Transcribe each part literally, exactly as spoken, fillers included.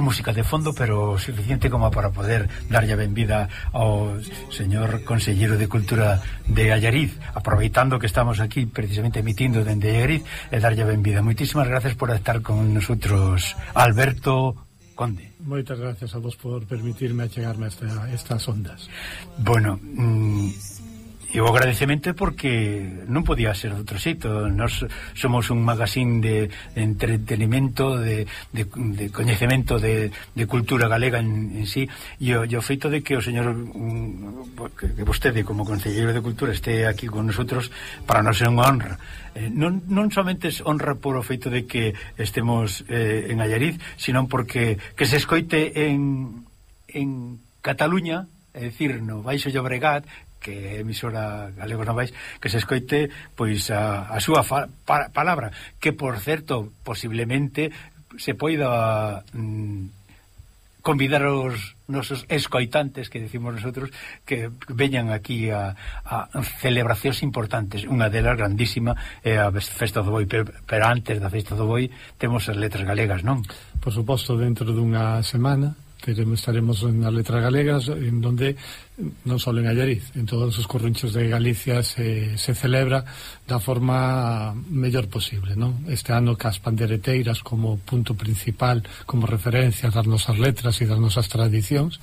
música de fondo, pero suficiente como para poder darlle a benvida ao señor Conselleiro de Cultura de Allariz, aproveitando que estamos aquí precisamente emitindo dende Allariz, e darlle a benvida. Moitísimas gracias por estar con nosotros, Alberto Conde. Moitas gracias a vos por permitirme achegarme a esta, estas ondas. Bueno, mmm, e o agradecemento porque non podía ser de outro xeito. Nós somos un magazín de, de entretenimento, de, de, de coñecemento de, de cultura galega en, en sí, e o, e o feito de que o señor um, que, que vostede como Conselleiro de Cultura este aquí con nosotros, para nós é unha honra. Eh, non, non somente es honra por o feito de que estemos eh, en Allariz, sino porque que se escoite en, en Cataluña, é dicir, no Baixo Llobregat, que é emisora Galegos Novais, que se escoite pois a, a súa fa, pa, palabra, que por certo posiblemente se poida mm, convidar os nosos escoitantes, que decimos nosotros, que veñan aquí a, a celebracións importantes. Unha delas grandísima é a Festa do Boi, pero, pero antes da Festa do Boi temos as letras galegas, non? Por suposto, dentro dunha semana teremos, estaremos nas letras galegas, en donde non só en Allariz, en todos os corrunchos de Galicia se, se celebra da forma mellor posible, non? Este ano cas pandereteiras como punto principal, como referencia das nosas letras e das nosas tradicións,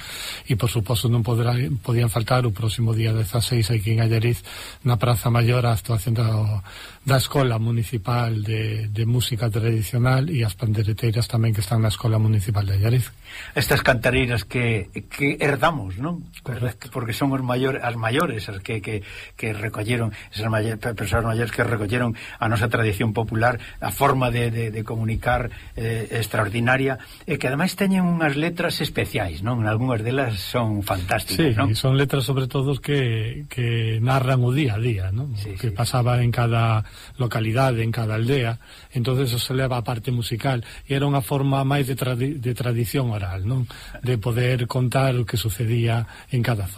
e por suposto non poderá, podían faltar o próximo día dezaseis aquí en Allariz, na Praza Maior, a actuación da, da Escola Municipal de, de Música Tradicional e as pandereteiras tamén que están na Escola Municipal de Allariz. Estas cantareiras que, que herdamos, non? Correcto. Porque son os maiores, as maiores as que, que, que recolleron, esas maiores, persoas maiores que recolleron a nosa tradición popular, a forma de, de, de comunicar eh, extraordinaria, e que ademais teñen unhas letras especiais, non? Algúnas delas son fantásticas, sí, non? Sí, son letras sobre todo que, que narran o día a día, non? Sí, que sí. pasaba en cada localidade, en cada aldea, entonces eso se leva a parte musical, e era unha forma máis de, tradi de tradición oral, non? De poder contar o que sucedía en cada zona.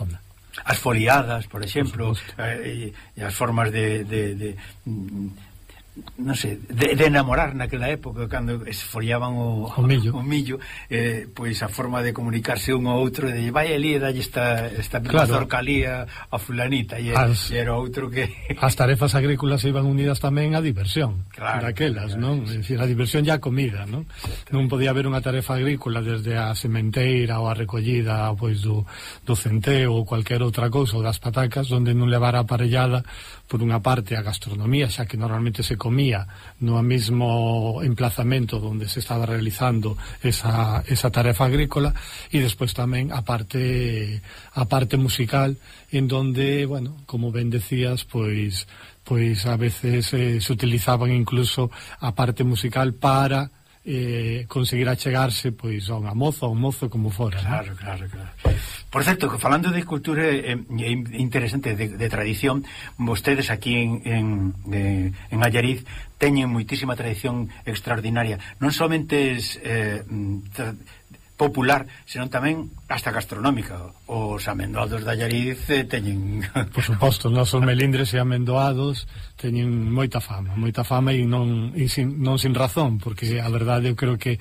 As foliadas, por exemplo, por eh, e as formas de, de, de non sei, de, de enamorar naquela época, cando esfoliaban o, o millo, o millo eh, pois a forma de comunicarse un ao outro, de vai ali e dalle esta, esta claro. Zorcalía a fulanita, e, as, e era outro que... As tarefas agrícolas iban unidas tamén á diversión, claro, daquelas, claro, non? Sí. É dicir, a diversión e a comida, non? Non podía haber unha tarefa agrícola desde a sementeira ou a recollida pois do, do centeo ou cualquier outra cousa, ou das patacas, onde non levara aparellada por unha parte a gastronomía, xa que normalmente se comía no mesmo emplazamento onde se estaba realizando esa, esa tarefa agrícola, e despois tamén a parte a parte musical, en donde, bueno, como ben decías, pois pois a veces eh, se utilizaban incluso a parte musical para eh, conseguir achegarse pois a unha moza ou un mozo como fora. Claro, ¿no? claro, claro. Por certo, que falando de cultura eh, interesante, de, de tradición, vostedes aquí en, en, de, en Allariz teñen moitísima tradición extraordinaria, non somente es eh, popular, senón tamén hasta gastronómica. Os amendoados de Allariz eh, teñen... Por suposto, os nosos melindres e amendoados teñen moita fama, moita fama, e non, e sin, non sin razón, porque a verdade eu creo que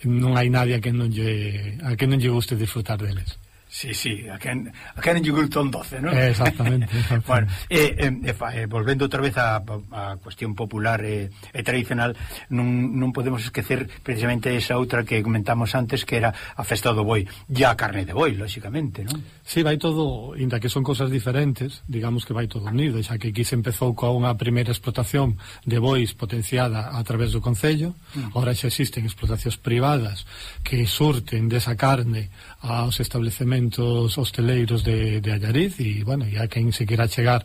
non hai nadie a que non lle, a que non lle guste disfrutar deles. Sí, sí, a quen, a quen lle gusta un doce, non? Exactamente, exactamente. Bueno, eh, eh, eh, volvendo outra vez a, a cuestión popular e eh, eh, tradicional, non, non podemos esquecer precisamente esa outra que comentamos antes, que era a Festa do Boi, e a carne de boi, lóxicamente, non? Sí, vai todo, inda que son cosas diferentes, digamos que vai todo unido, xa que aquí se empezou coa unha primeira explotación de bois potenciada a través do Concello, mm. Ahora xa existen explotacións privadas que surten desa carne aos establecementos hosteleiros de, de Allariz, e, bueno, e a quen se quera chegar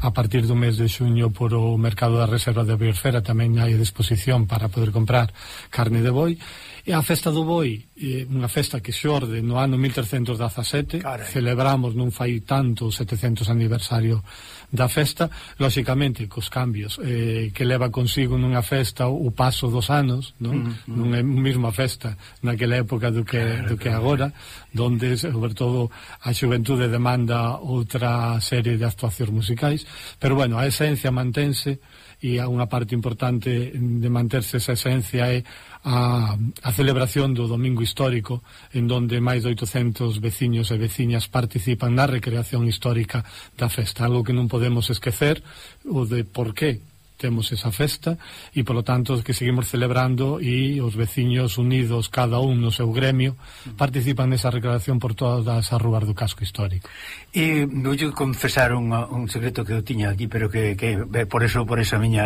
a partir do mes de xuño por o mercado da reserva de Biosfera tamén hai a disposición para poder comprar carne de boi. E a Festa do Boi, eh, unha festa que xorde no ano mil trescentos dezasete, Carai. Celebramos non fai tanto o setecentos aniversario da festa, lóxicamente cos cambios eh, que leva consigo nunha festa o paso dos anos, non? Mm, mm. Non é a mesma festa naquela época do que, do que agora, donde sobre todo a xuventude demanda outra serie de actuacións musicais, pero bueno, a esencia mantense, e unha parte importante de manterse esa esencia é a, a celebración do Domingo Histórico, en donde máis de oitocentos veciños e veciñas participan na recreación histórica da festa, algo que non podemos esquecer, o de por qué temos esa festa, e polo tanto que seguimos celebrando, e os veciños unidos, cada un no seu gremio, participan nesa recreación por todas as rúas do casco histórico. E vou confesar un, un secreto que eu tiña aquí, pero que, que por eso por esa miña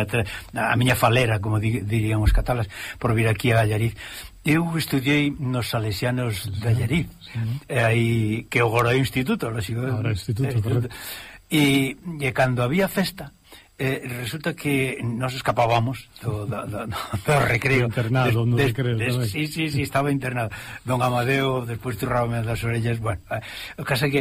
a miña falera, como dirían os catalas, por vir aquí a Allariz. Eu estudiei nos Salesianos de Allariz, sí, sí. Aí que agora é o instituto, lógico. Agora é o instituto, correcto. E, e cando había festa, Eh, resulta que nos escapábamos do, do, do, do recreo, do internado, no recreo, des, sí, sí, sí, estaba internado. Don Amadeo despois turrábame das orellas. Bueno, eh, o caso é que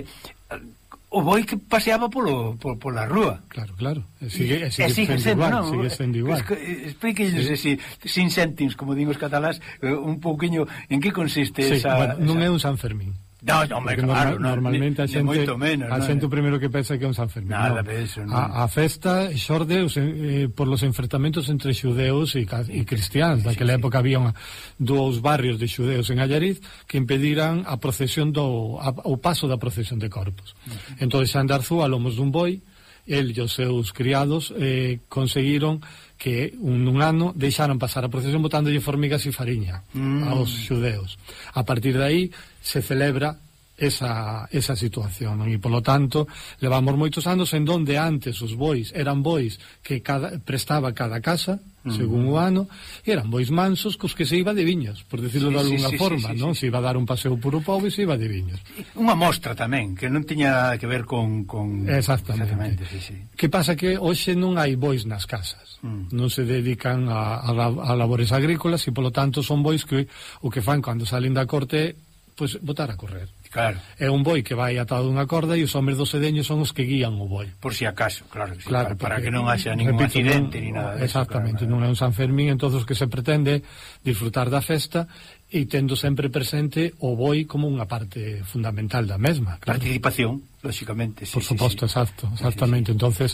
o boi que paseaba polo, polo, pola rúa. Claro, claro, sigue, sigue, sigue sendo igual, no? Sigue sendo igual. Explíquenos, sí. sin céntimos, como digo os catalás, un pouquiño en que consiste sí, esa... Bueno, non esa... é un San Fermín. No, no, me, claro, normal, normalmente ni, a xente menos, a xente o primeiro que pensa que é un San Fermín. Nada no. de eso, no. a, a festa xorde eh, por los enfrentamentos entre xudeus e, e cristiáns. Daquela sí, época sí. Había unha, dous barrios de xudeus en Allariz que impediran a procesión do a, o paso da procesión de corpos. Uh-huh. Entón Xan de Arzúa, a lomos dun boi, el e os seus criados eh, conseguiron que un, un ano deixaron pasar a procesión botándolle formigas e fariña mm. aos xudeus. A partir de aí se celebra esa, esa situación, non? E polo tanto levamos moitos anos en donde antes os bois eran bois que cada, prestaba cada casa según o ano, e eran bois mansos cos que se iba de viños, por decirlo sí, de alguna sí, forma, sí, sí, non? Sí, sí. Se iba a dar un paseo puro pobo e se iba de viños. Unha mostra tamén, que non tiña que ver con... con... Exactamente. Sí, sí. Que pasa que hoxe non hai bois nas casas, mm. non se dedican a, a, a labores agrícolas, e polo tanto son bois que o que fan cando salen da corte, pois pues, botar a correr. Claro. É un boi que vai atado unha corda e os homes dos sedeños son os que guían o boi. Por si acaso, claro, sí, claro para, para que non haxa ningún repito, accidente non, ni nada de exactamente, eso, claro, non é un San Fermín, entón o que se pretende disfrutar da festa e tendo sempre presente o boi como unha parte fundamental da mesma. Claro. Participación, lógicamente, sí, por suposto, sí, sí. exacto, exactamente. Sí, sí. Entonces,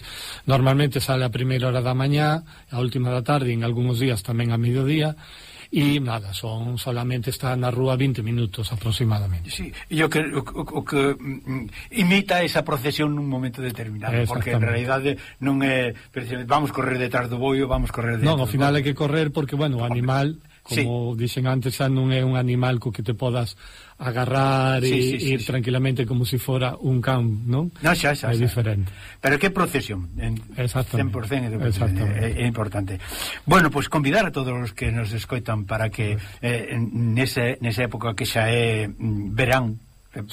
normalmente sale a primeira hora da mañá, a última da tarde, en algúns días tamén a mediodía. E nada, son solamente está na rúa vinte minutos aproximadamente. Sí, e o que, o, o que mm, imita esa procesión nun momento determinado, porque en realidade non é vamos correr detrás do boio, vamos correr detrás. Non, ao final hai que correr porque, bueno, o animal, como sí. dixen antes, xa non é un animal co que te podas agarrar sí, e sí, sí, ir sí. tranquilamente como se si fora un can, non? No, xa, xa, é xa. diferente. Pero que procesión, en cen por cento é, é importante. Bueno, pois pues, convidar a todos os que nos escoitan para que eh, nese, nesa época que xa é mm, verán.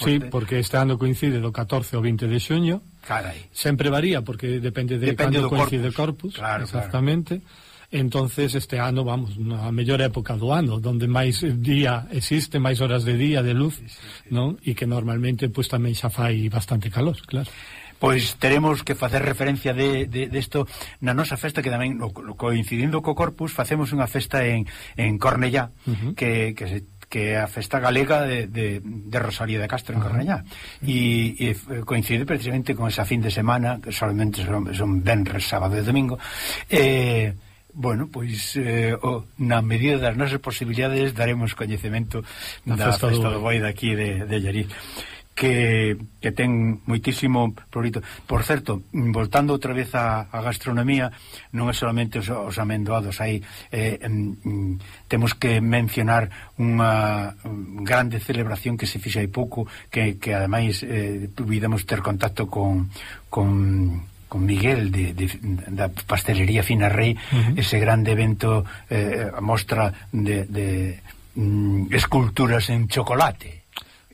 Sí, porque este ano coincide do catorce ao vinte de xuño. Carai. Sempre varía porque depende de depende cando coincide Corpus, Corpus claro, exactamente. Claro. Entonces este ano, vamos, a mellor época do ano, donde máis día existe, máis horas de día, de luz, sí, sí, sí. non? E que normalmente pues, tamén xa fai bastante calor, claro. Pois teremos que facer referencia de, de, de esto na nosa festa, que tamén, coincidindo co Corpus, facemos unha festa en, en Cornellá, uh-huh. que, que se que é a festa galega de, de, de Rosalía de Castro en Cornellá e, e coincide precisamente con esa fin de semana que solamente son, son venres, sábado e domingo e eh, bueno, pois eh, oh, na medida das nosas posibilidades daremos coñecemento da festa, festa do boi daqui de, de Allariz que, que ten moitísimo prurito. Por certo, voltando outra vez a, a gastronomía, non é solamente os, os amendoados, hai eh, mm, temos que mencionar unha grande celebración que se fixa hai pouco, que, que ademais eh, pudemos ter contacto con con con Miguel de, de, da pastelería Fina Rei, uh-huh. ese grande evento eh, mostra de, de mm, esculturas en chocolate.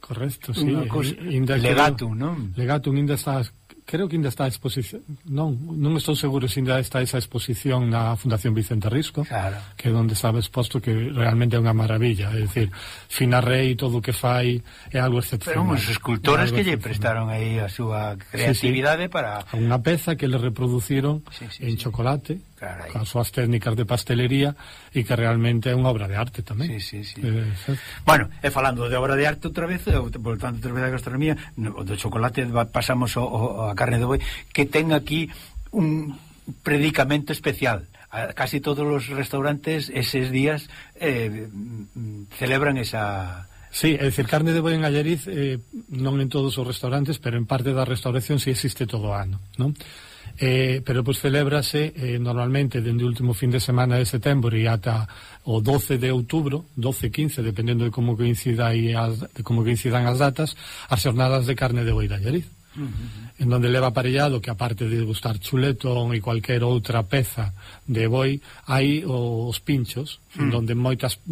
Correcto, sí. Legatum, non? Legatum ainda está, creo que ainda está a exposición, non, non estou seguro se ainda está esa exposición na Fundación Vicente Risco, claro. que é onde estaba exposto, que realmente é unha maravilla, é dicir, Fina Rei, todo o que fai é algo excepcional. Pero uns escultores que lle prestaron aí a súa creatividade sí, sí. para... Unha peza que le reproduciron sí, sí, en sí. chocolate, Carai. Con as súas técnicas de pastelería, e que realmente é unha obra de arte tamén. Sí, sí, sí. Eh, bueno, e falando de obra de arte outra vez, voltando outra vez a gastronomía, do chocolate pasamos ao, a carne de boi, que ten aquí un predicamento especial. Casi todos os restaurantes eses días eh, celebran esa... Sí, é dicir, carne de boi en Allariz eh, non en todos os restaurantes, pero en parte da restauración sí existe todo o ano, non? Eh, pero pois celébrase eh, normalmente dende o último fin de semana de setembro e ata o doce de outubro, doce, quince, dependendo de como coincida aí as, de como coincidan as datas, as xornadas de carne de boi de Allariz. Uh -huh. En donde leva aparellado que aparte de gustar chuletón e cualquier outra peza de boi, hai os pinchos, uh -huh. en donde moitas,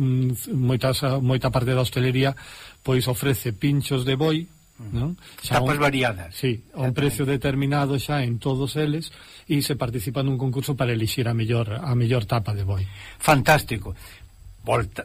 moitas moita parte da hostelería pois ofrece pinchos de boi, uh -huh. non? Xa tapas un, variadas. Sí, a un precio determinado xa en todos eles, e se participa nun concurso para elixir a mellor a mellor tapa de boi. Fantástico. Volta,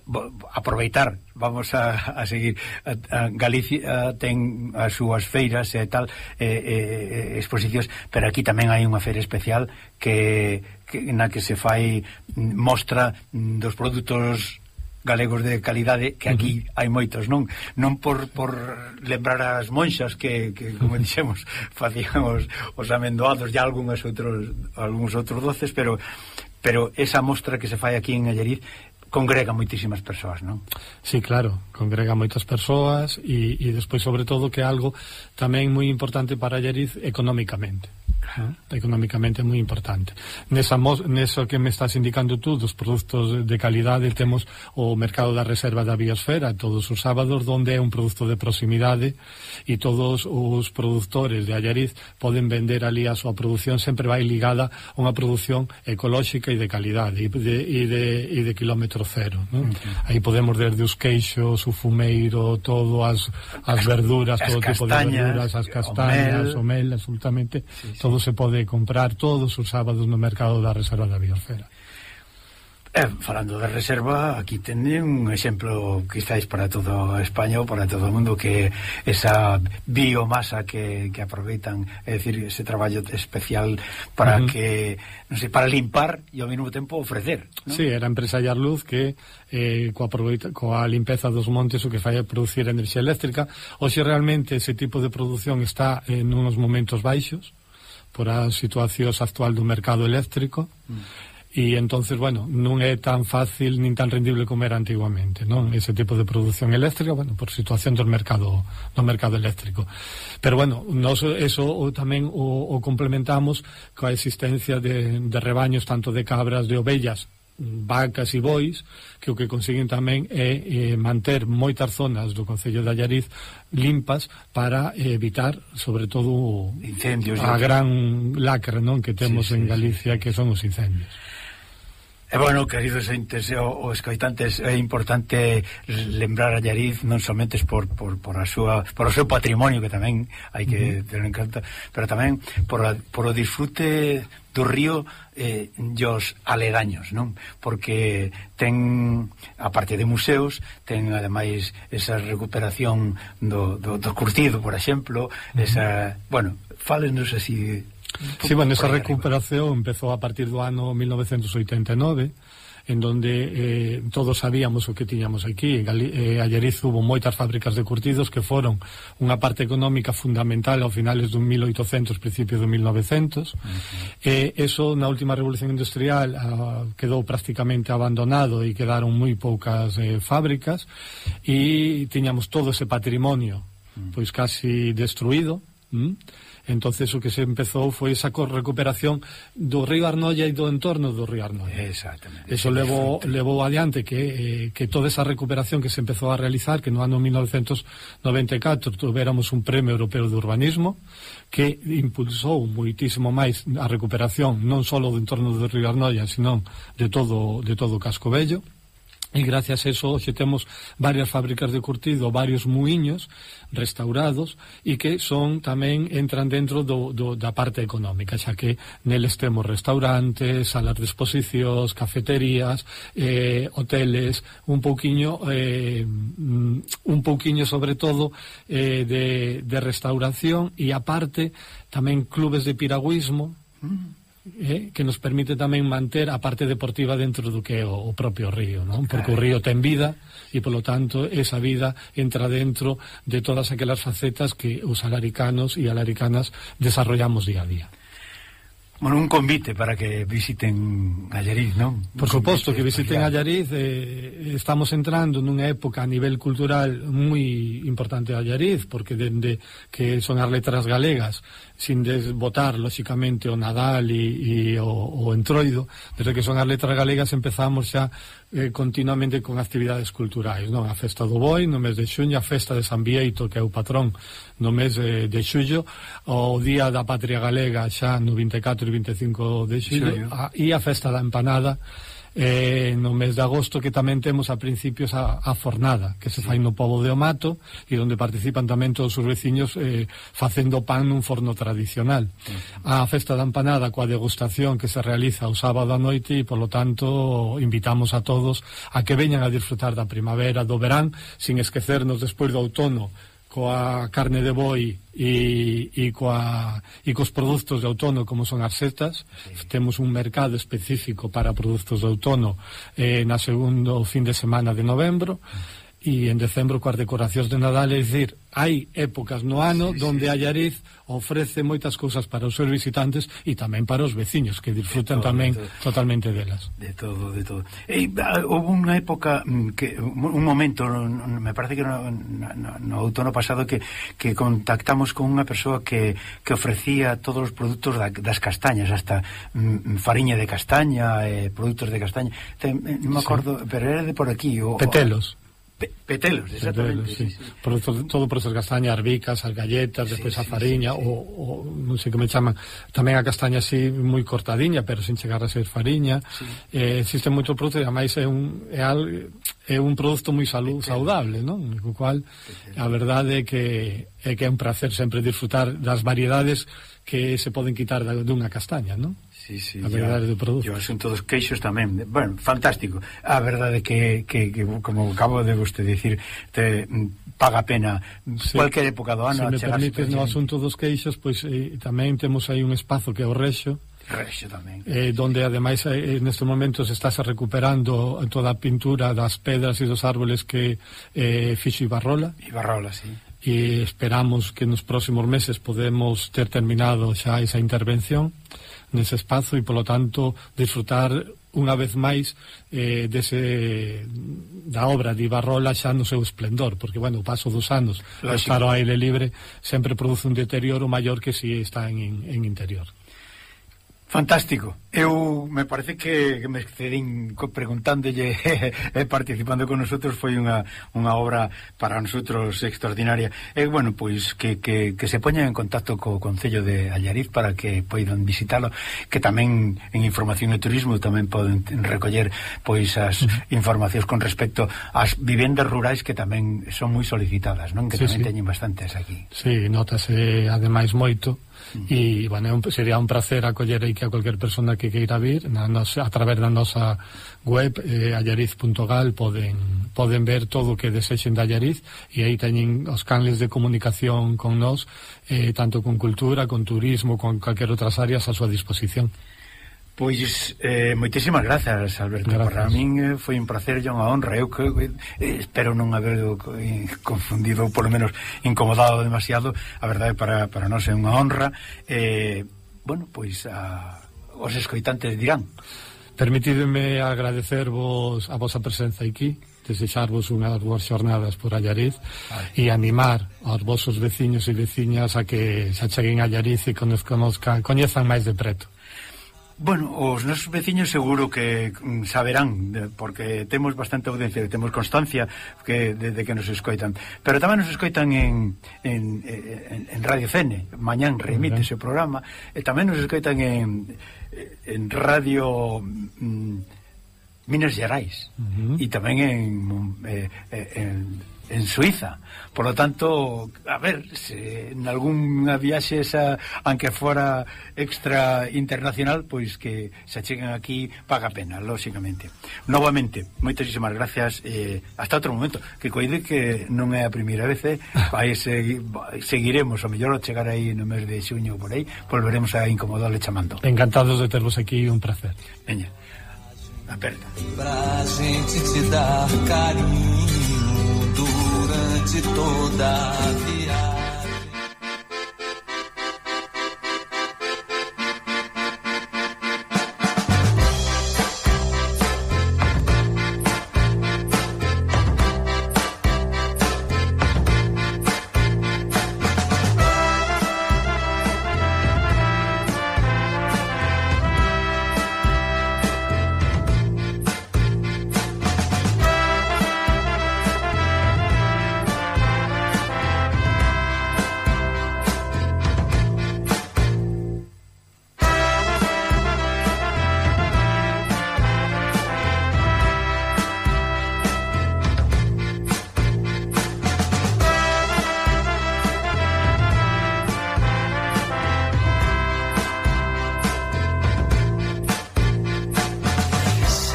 aproveitar, vamos a, a seguir a, a Galicia ten as súas feiras e tal, eh, eh, exposicións, pero aquí tamén hai unha feira especial que, que na que se fai mostra dos produtos galegos de calidade, que aquí uh-huh. hai moitos, non non por, por lembrar as monxas que, que como dixemos, facían os, os amendoados e algúns outros algúns outros doces, pero pero esa mostra que se fai aquí en Allariz congrega moitísimas persoas, non? Sí, claro, congrega moitas persoas e, e despois, sobre todo, que é algo tamén moi importante para Allariz económicamente. ¿no? Económicamente é moi importante. Nesa neso que me estás indicando tú dos produtos de calidade, temos o mercado da reserva da biosfera todos os sábados, onde é un produto de proximidade e todos os produtores de Allariz poden vender ali a súa produción, sempre vai ligada a unha produción ecolóxica e de calidade e de, e de, e de kilómetro cero, ¿no? Uh-huh. Aí podemos desde os queixos, o fumeiro, todo, as, as verduras, as todo tipo de verduras, as castañas, o mel, o mel absolutamente, sí, sí. Todo se pode comprar todos os sábados no mercado da reserva da biosfera. Eh, falando de reserva, aquí teñen un exemplo quizáis para toda España ou para todo o mundo, que esa biomasa que, que aproveitan, é dicir, ese traballo especial para uh-huh. que, non sei, para limpar e ao mesmo tempo ofrecer, ¿no? Sí, era a empresa Yarluz que eh, coa, coa limpeza dos montes o que fai é producir enerxía eléctrica. Hoxe realmente ese tipo de produción está en unos momentos baixos por a situación actual do mercado eléctrico. Mm. E entonces, bueno, non é tan fácil nin tan rendible como era antiguamente, non? Ese tipo de produción eléctrica, bueno, por situación do mercado do mercado eléctrico. Pero bueno, nos eso o, tamén o, o complementamos coa existencia de, de rebaños tanto de cabras, de ovellas, vacas e bois, que o que consiguen tamén é eh, manter moitas zonas do concello de Allariz limpas para eh, evitar, sobre todo, incendios, a gran lacra, non, que temos sí, sí, en Galicia, sí, que son os incendios. E bueno, queridos entes o, os coitantes, é importante lembrar a Allariz non somente por, por, por, a súa, por o seu patrimonio, que tamén hai que uh-huh. ter en conta, pero tamén por, a, por o disfrute do río eh, e os aledaños, non? Porque ten, aparte de museos, ten ademais esa recuperación do, do, do curtido, por exemplo, uh-huh. esa, bueno, fálenos así. Sí, bueno, esa recuperación empezou a partir do ano mil novecentos oitenta e nove, en donde eh, todos sabíamos o que tiñamos aquí. En eh, Allariz hubo moitas fábricas de curtidos que foron unha parte económica fundamental ao finales do mil oitocentos, principios do mil novecentos. Uh-huh. E eso, na última revolución industrial, ah, quedou prácticamente abandonado e quedaron moi poucas eh, fábricas, e tiñamos todo ese patrimonio uh-huh. pois casi destruído. ¿Mm? Entonces o que se empezou foi esa recuperación do río Arnoia e do entorno do río Arnoia. Exactamente. Eso levou, levou adiante que, eh, que toda esa recuperación que se empezou a realizar, que no ano mil novecentos noventa e catro tuveramos un premio europeo de urbanismo que impulsou moitísimo máis a recuperación non só do entorno do río Arnoia, sino de todo, de todo o Casco Vello. E gracias a eso hoxe temos varias fábricas de curtido, varios muiños restaurados, e que son tamén entran dentro do, do, da parte económica, xa que neles temos restaurantes, salas de exposicións, cafeterías, eh, hoteles, un pouquiño eh, un pouquiño sobre todo eh, de, de restauración, e aparte tamén clubes de piragüismo. Mm. eh, que nos permite tamén manter a parte deportiva dentro do que é o, o propio río, non? Porque o río ten vida e, polo tanto, esa vida entra dentro de todas aquelas facetas que os alaricanos e alaricanas desarrollamos día a día. Bueno, un convite para que visiten Allariz, non? Por suposto que visiten Allariz. eh, estamos entrando nunha época a nivel cultural moi importante a Allariz, porque dende que son as letras galegas, sin desbotar, lóxicamente, o Nadal e, e o, o Entroido, desde que son as letras galegas empezamos xa eh, continuamente con actividades culturais, non? A festa do Boi no mes de xuño, a festa de San Bieito, que é o patrón, no mes eh, de xullo, o Día da Patria Galega xa no vinte e catro e vinte e cinco de xullo, a, e a festa da empanada eh, no mes de agosto, que tamén temos a principios a, a fornada, que se fai no Pobo de Omato, e onde participan tamén todos os veciños eh, facendo pan nun forno tradicional. A festa da empanada coa degustación que se realiza o sábado a noite, e polo tanto invitamos a todos a que veñan a disfrutar da primavera, do verán, sin esquecernos despois do outono, coa carne de boi e, e, coa, e cos produtos de outono como son as setas. Sí. Temos un mercado específico para produtos de outono eh, na segundo fin de semana de novembro, e en decembro coas decoracións de Nadal. É dicir, hai épocas no ano sí, donde sí. Allariz ofrece moitas cousas para os seus visitantes e tamén para os veciños, que disfrutan todo, tamén de totalmente delas. De todo, de todo. E, houve unha época, que un momento, me parece que no, no, no outono pasado, que, que contactamos con unha persoa que, que ofrecía todos os produtos da, das castañas, hasta mm, fariña de castaña, eh, produtos de castaña. Te, non me acordo, sí. Pero era de por aquí. O, Petelos. Pe petelos, exactamente. Petelos, sí. Sí, sí. Por todo, todo por esas castañas, as bicas, as galletas, despois sí, a fariña, sí, sí, sí. O, o non sei que me chaman, tamén a castaña así moi cortadiña, pero sin chegar a ser fariña. Sí. Eh, existe moito produto, e ademais é un é, al, é un produto moi salu, saudable, non? Co cual, Petelos. A verdade é que é que é un placer sempre disfrutar das variedades que se poden quitar dunha castaña, non? Sí, sí, a verdade do produto. E o asunto dos queixos tamén. Bueno, fantástico. A verdade que, que, que como acabo de vostede dicir, te paga pena sí. Cualquier época do ano. Se me permites, no asunto dos queixos, pois eh, tamén temos aí un espazo que é o Rexo, Rexo tamén. Eh, donde ademais eh, nestes momentos estás recuperando toda a pintura das pedras e dos árboles que eh, fixo Ibarrola. Ibarrola, sí. E esperamos que nos próximos meses podemos ter terminado xa esa intervención nese espazo, e polo tanto disfrutar unha vez máis eh, dese, da obra de Ibarrola xa no seu esplendor, porque, bueno, o paso dos anos o estar ao aire libre sempre produce un deterioro maior que si está en, en interior. Fantástico. Eu me parece que, que me excedín preguntándolle e participando con nosotros. Foi unha, unha obra para nosotros extraordinaria. E, bueno, pois que, que, que se poñan en contacto co Concello de Allariz para que poidan visitalo, que tamén en Información e Turismo tamén poden recoller pois as informacións con respecto ás vivendas rurais, que tamén son moi solicitadas, non? Que sí, tamén sí. Teñen bastantes aquí. Sí, notase ademais moito. E, bueno, sería un placer acoller aí que a cualquier persona que queira vir na nosa, a través da nosa web eh, allariz punto gal poden, poden ver todo o que desexen de Allariz, e aí teñen os canles de comunicación con nós, eh, tanto con cultura, con turismo, con calquer outras áreas a súa disposición. Pois, eh, moitísimas grazas, Alberto. Gracias. Para min eh, foi un placer e unha honra. Eu que eh, espero non haber eh, confundido, ou polo menos incomodado demasiado. A verdade, para, para nós é unha honra. Eh, bueno, pois a, os escoitantes dirán. Permitideme agradecervos a vosa presenza aquí, desexarvos unhas boas xornadas por Allariz e animar aos vosos veciños e veciñas a que se acheguen a Allariz e conozcan, coñezan máis de preto. Bueno, os nosos veciños seguro que saberán, porque temos bastante audiencia, temos constancia que desde que nos escoitan, pero tamén nos escoitan en, en, en, en Radio Cene, mañán remite ese programa, e tamén nos escoitan en, en Radio mm, Minas Gerais, uh -huh. E tamén en, eh, en en Suiza. Por lo tanto, a ver, se en algunha viaxe esa, aunque fora extra internacional, pois que se cheguen aquí paga pena, lóxicamente. Novamente, moitísimas gracias, eh, hasta outro momento, que coide que non é a primeira vez, eh, aí segui, seguiremos, o mellor ao chegar aí no mes de xuño por aí, volveremos a incomodarle chamando. Encantados de tervos aquí, un placer. Veña, aperta. Pra gente te dar carinho durante toda a viagem.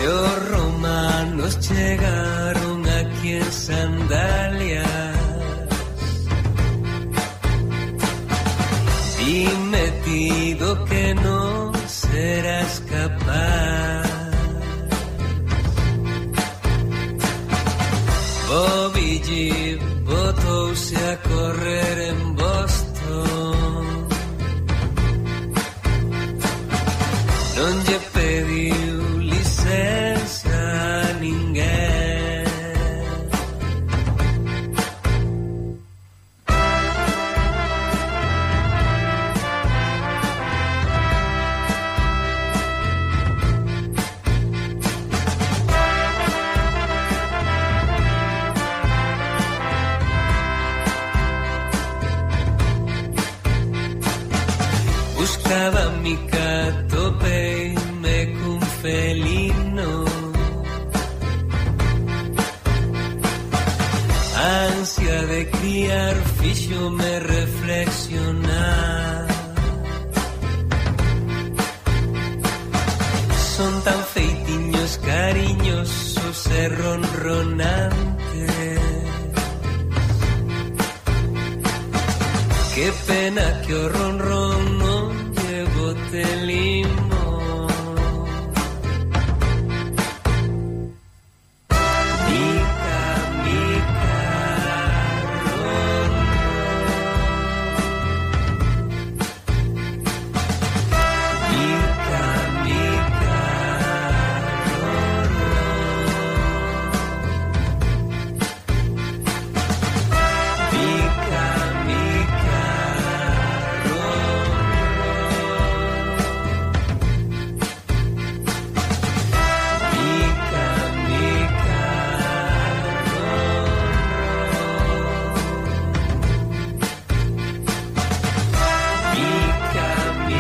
Los romanos llegaron aquí en sandalias. Dime, Tito, que no serás capaz. Bobby G botouse a correr en Boston. Non lle pediu licenza a ninguén. Buscaba mi catope y me cun felino. Ansia de criar fixo me reflexionar. Son tan feitiños, cariñosos e ronronantes. Qué pena que o ronron non llevo teli.